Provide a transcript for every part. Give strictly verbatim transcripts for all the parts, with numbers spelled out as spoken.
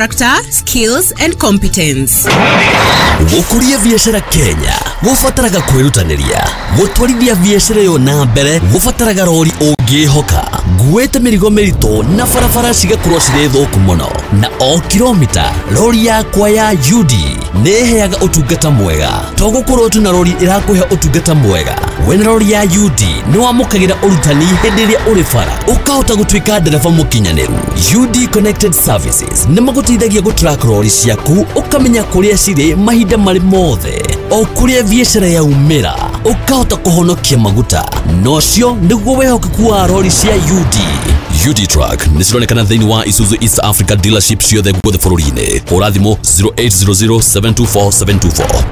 Character, skills and competence. Gũkũria biacara Kenya gũbataraga kwĩrutanĩria. Gũtwarithia biacara ĩyo na mbere gũbataraga rori ũngĩhoka nguĩte mĩrigo mĩritũ na barabara cigakorwo cirĩ thũku mũno, na o kilomita rori yakwa ya U D nĩ ĩheaga ũtungata mwega. To gũkorwo tu na rori ĩrakũhe ũtungata mwega, wĩna rori ya U D nĩ wamũkagĩra ũrutani hĩndĩ ĩrĩa ũrĩ bara, ũkahota gũtuĩka ndereba mũkinyanĩru. U D Connected Services nĩ magũteithagia gũtrack rori ciaku, ũkamenya kũrĩa cirĩ mahinda marĩ mothe, o kũrĩa biacara yaumĩra, ũkahota kũhonokia maguta. Na ũcio nĩguo wĩhokeku wa rori cia U D. U D Truck nĩ cironekana thĩinĩ wa Isuzu East Africa dealership ciothe guothe bũrũri-inĩ. Hũra thimũ zero eight zero zero, seven two four, seven two four.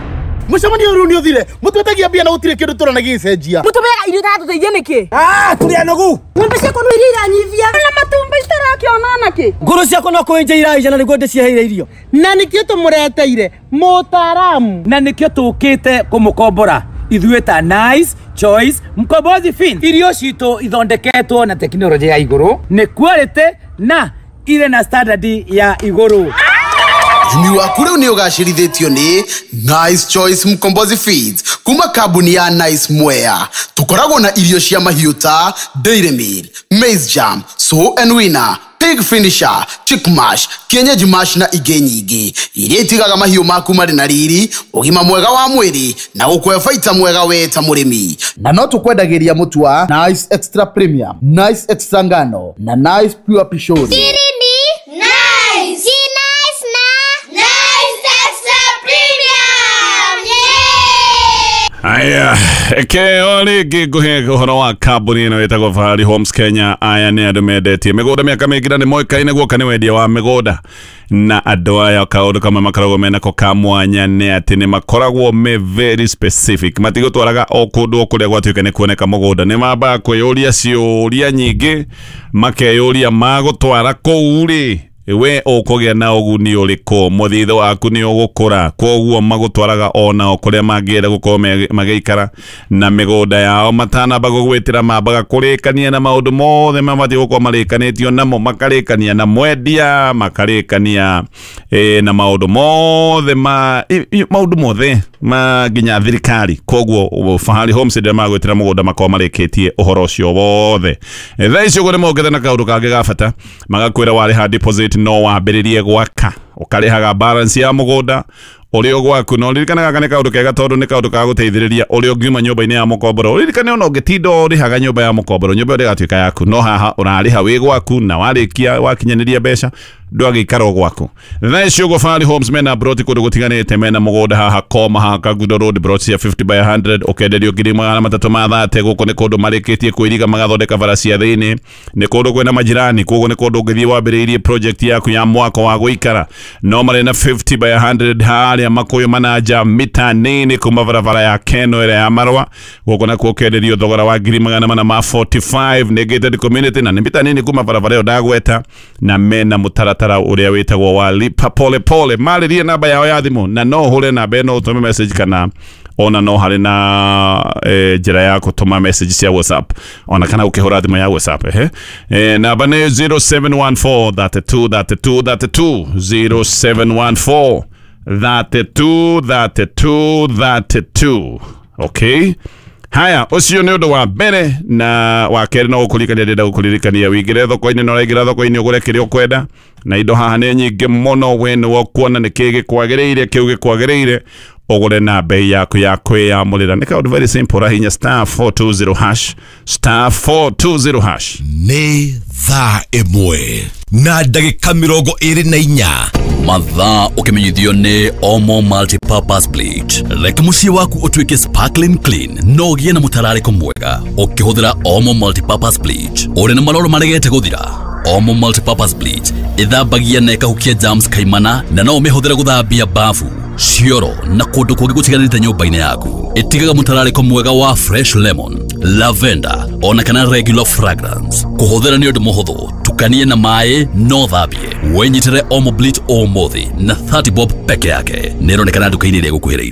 Mũcemanio ũyũ nĩ ũthire. Mũtwetagia mbia na gũtirĩ kĩndũ tũrona gĩgĩcenjia. Mũtũmeaga irio itatũteithia nĩkĩ? Ah, tũrĩ anogu. Ng'ombe ciakwa no iria iranyivia na matumbĩ itarakĩona nakĩ. Ngũrũ ciakwa no kũenja iraija na nĩguo ndĩciheire irio. Na nĩkĩo tũmũreteire mũtaaramu. Na nĩkĩo tũkĩte kũmũkombora ithuĩ ta Nice Choice Mkombozi Feeds. Irio citũ ithondeketwo na tekinoronjĩ ya igũrũ, nĩ quality na irĩ na standard ya igũrũ. Ũrĩmi waku rĩu nĩ ũgacĩrithĩtio nĩ Nice Choice Mkombozi Feeds kuma kambuni ya Nice Mwea. Tũkoragwo na irio cia mahiũ ta Dairy Meal, Maize Jam, Sow and Winner, Pig Finisher, Chick Mash, Kienyeji Mash na ingĩ nyingĩ iria itigaga mahiũ maku marĩ na riri, ũgima mwega wa mwĩrĩ na gũkũhe baita mwega we ta mũrĩmi. Na no tũkwendagĩria mũtu wa Nice Extra Premium, Nice Extra Ngano na Nice Pure Pishori. Siri ni Nice. Si Nice na Nice Extra Premium. Yeah! Aya, eke o rĩngĩ ngũhe ũhoro wa kambuni ĩno ĩtagwo Fahari Homes Kenya. Aya nĩ andũ mendetie mĩgũnda mĩaka mĩingĩ na nĩ moĩkaine guoka nĩ wendia wa mĩgũnda, na andũ aya kaũndũ kamwe makoragwo menako ka mwanya nĩ atĩ nĩ makoragwo me very specific. Matigũtwaraga o kũndũ o kũrĩa gwatuĩka nĩ kuoneka mũgũnda. Nĩ mambaga kwĩyũria ciũria nyingĩ, makeyũria magũtwara kũu rĩ, we ũkũgĩa na ũguni ũrĩkũ, mũthithũ waku nĩ ũgũkũra. Koguo magũtwaraga onao kũrĩa mangĩenda gũkorwo me- magĩikara na mĩgũnda yao. Matanamba gũgwĩtĩra, mambaga kũrĩkania na maũndũ mothe mabatiĩ gũkorwo marĩkanĩtio namo, makarĩkania na mwendia, makarĩkania eh, na maũndũ mothe ma i- i- maũndũ mothe ma nginya thirikari. Koguo Fahari Homes hĩndĩ ĩrĩa magwĩtĩra mũgũnda makorwo marĩkĩtie ũhoro ũcio wothe. Thaa ici ũguo nĩ mokĩte na kaũndũ kangĩ ga bata, magakwĩra warĩha deposit no wambĩrĩrie gwaka, ũkarĩhaga balance ya mũgũnda ũrĩ o gwaku. Na ũririkane gaka nĩ kaũndũ kega tondũ nĩ kaũndũ ka gũteithĩrĩria ũrĩa ũngiuma nyũmba-inĩ ya mũkomboro. Ũririkane ona ũngĩtinda ũrĩhaga nyũmba ya mũkomboro, nyũmba ĩyo ndĩgatuĩka yaku, no haha ũrarĩha wĩ gwaku, na warĩkia wakinyanĩria mbeca ndwagĩikara o gwaku. Thaa ici ũguo Fahari Homes mena broti kũndũ gũtiganĩte. Mena mũgũnda haha Koma, haha Kangundo Road, broti cia fifty by one hundred ũkenderio ngiri magana matatũ ma thate. Gũkũ nĩ kũndũ marĩkĩtie kwĩriga, magathondeka bara cia thĩinĩ, nĩ kũndũ kwĩna majirani, koguo nĩ kũndũ ũngĩthiĩ wambĩrĩirie project yaku ya mwako wa gũikara. No marĩ na fifty by one hundred harĩa Makũyũ Mananja, mita nini kuma barabara ya Keno ĩrĩa ya Marwa. Gũkũ nakuo ũkenderio thogora wa ngiri magana mana ma mĩrongo ĩna na ithano, nĩ gated community na nĩ mita nini kuma barabara ĩyo ndagweta, na mena mũtaratara ũrĩa wĩtagwo wa lipa pole pole. Marĩrie namba yao ya thimũ, na no ũhũre namba ĩno ũtũme message, kana ona no harĩ na eh, njĩra ya gũtũma message cia WhatsApp, ona kana ũkĩhũra thimũ ya WhatsApp. Ehe, eh, namba nĩ zero seven one four thirty-two thirty-two thirty-two, zero seven one four thirty-two thirty-two thirty-two. Okay, haya, ũcio nĩ ũndũ wa mbere. Na wa kerĩ, no gũkũririkania, ndĩrenda gũkũririkania wĩingĩre thoko-inĩ, na ũraingĩra thoko-inĩ ũgũre kĩrĩa ũkwenda, na indo haha nĩ nyingĩ mũno. We nĩwe ũkuona nĩ kĩĩ gĩkwagĩrĩire, kĩu gĩkwagĩrĩire ũgũre na bei yaku ya kwĩyamũrĩra. Nĩ kaũndũ very simple, rahinya star four two zero hash, star four two zero hash. Nĩ thaa ĩmwe na ndagĩka mĩrongo ĩrĩ na inya. Mathaa ũkĩmenyithio nĩ Omo Multipurpose Bleach. Reke mũciĩ waku ũtuĩke sparkling clean no ũgĩe na mũtararĩko mwega ũkĩhũthĩra Omo Multipurpose Bleach. Ũrĩ na maroro maregete gũthira? Omo Multipurpose Bleach ĩthambagia na ĩkahukia germs kaimana, na no ũmĩhũthĩre gũthambia bafu, cioro na kũndũ kũngĩ gũtiganĩte nyũmba-inĩ yaku. Ĩtigaga mũtararĩko mwega wa fresh lemon, lavender ona kana regular fragrance. Kũhũthĩra nĩ ũndũ mũhũthũ, tukanie na maĩ no thambie. Wĩnyitĩre Omo Bleach ũmũthĩ na thirty bob peke yake. Nĩ ĩronekana nduka-inĩ ĩrĩa ĩgũkuhĩrĩirie.